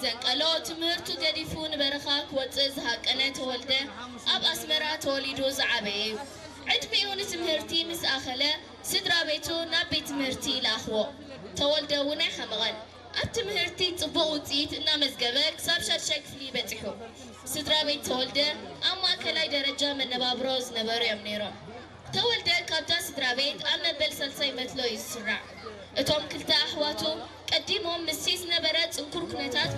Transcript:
ዘንቀሎ ትምህርቱ ገዲፉ ንበረኻ ክወጽእ ዝሃቀነ ተወልደ ኣብ ኣስመራ ተወሊዱ ዝዓበየ እዩ። ዕድሚኡ ንትምህርቲ ምስ ኣኸለ ስድራ ቤቱ ናብ ቤት ትምህርቲ ይለኣኽዎ። ተወልደ እውን ኣይሓመቐን። ኣብ ትምህርቲ ጽቡቕ ውጽኢት እናመዝገበ ክሳብ ሻድሻይ ክፍሊ በጺሑ። ስድራ ቤት ተወልደ ኣብ ማእከላይ ደረጃ መነባብሮ ዝነበሩ እዮም ነይሮም። ተወልደ ካብዛ ስድራ ቤት ኣብ መበል ሳልሳይ መትሎ እዩ ዝስራዕ። እቶም ክልተ ኣሕዋቱ ቀዲሞም ምስቲ ዝነበረ ጽንኩር ኩነታት